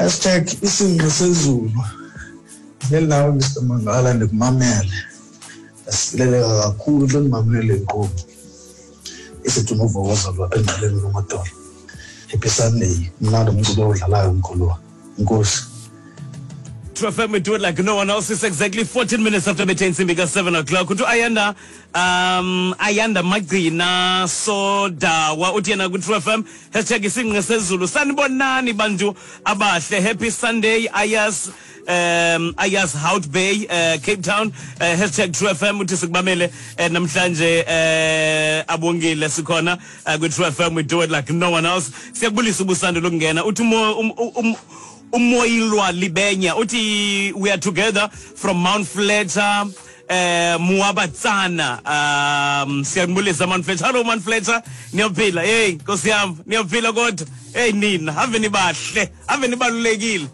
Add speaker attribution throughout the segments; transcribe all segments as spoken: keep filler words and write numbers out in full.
Speaker 1: Hashtag isingqi sezulu. Ndihleli nawe Mister Mangala, ndikumamele. Ndasikeleleka kakhulu xa ndimamele le nkqubo. Isithi unovokoza lwapha engqeleni lwamadolo. Happy Sunday. Mnandi umculo odlalayo mkhuluwa. Enkosi.
Speaker 2: True F M, we do it like no one else. It's exactly fourteen minutes after between intsimbi seven o'clock. Uthi Ayanda, um, Ayanda Magcina Sodawa uthi yena ku True F M, hashtag isingqi sezulu. Sanibonani bantu abahle. Happy Sunday, Ayas um Ayas Hout Bay, uh, Cape Town, uh, hashtag True F M uthi sikubamele uh, namhlanje, uh, abongile sikhona uh, ku True F M, we do it like no one else. Siyakubulisa ubusando lokungena. Uthi umo um, um, umoyilwa Libenya uthi we are together from Mount Fletcher, eh Muabatsana. um siyakubulisa Mount Fletcher. Hello Mount Fletcher, niyaphila? Hey nkosi yami, niyaphila kodwa? Hey nina, ave nibahle, ave nibalulekile.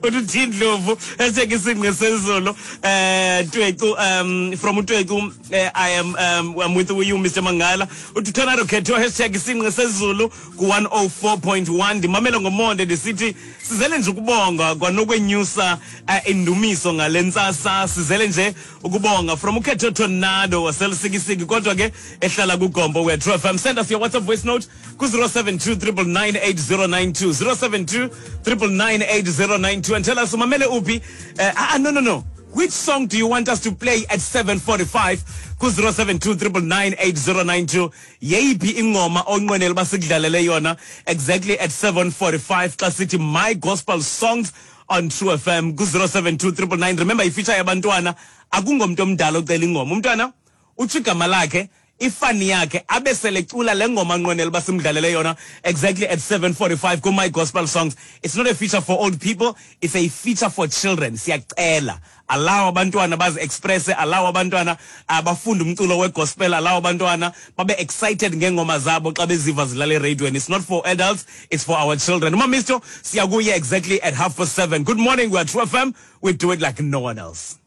Speaker 2: Uthi Thindlovu, hashtag isingqi sezulu, eh Twecu, um from uTwecu, eh, I am um, I'm with you, Mister Mangala. Uthi Tornado Khetho, hashtag isingqi sezulu ku one oh four point one, ndimamele ngomonde, ndisithi sizele nje ukubonga kwanokwenyusa uh, indumiso ngale ntsasa, sizele nje ukubonga. From uKhetho Tornado waseLusikisiki, kodwa ke ehlala kuGompo. We True F M. Send us your WhatsApp voice note ku zero seven two nine nine nine eight zero nine two, zero seven two nine nine nine eight zero nine two, and tell us umamele uphi. uh, ah no no no which song do you want us to play at seven forty-five ku zero seven two nine nine nine eight zero nine two? Yeyiphi ingoma onqwenela uba sikudlalele yona exactly at seven forty-five xa sithi My Gospel Songs on True F M ku zero seven two nine nine nine? Remember, ifeature yabantwana, akungomntu omdala ocela ingoma. Umntwana utsho igama lakhe, ifani yakhe, abe selecula le ngoma nqwenela uba simdlalele yona exactly at seven forty-five ku-My Gospel Songs. It's not a feature for old people, it's a feature for children. Siyacela, allow abantwana bazi-expresse, allow abantwana uh, bafunde umculo wegospel, allow abantwana babe excited ngeengoma zabo xa beziva zidlala eradiweni. It's not for adults, it's for our children. Umamisto siyakuye exactly at half past seven. Good morning, we are True F M, we do it like no one else.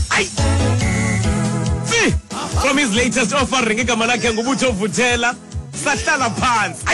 Speaker 2: Ayi! See, from his latest offering, igama lakhe nguButho Vuthela, "Sahlala Phansi." Ayi!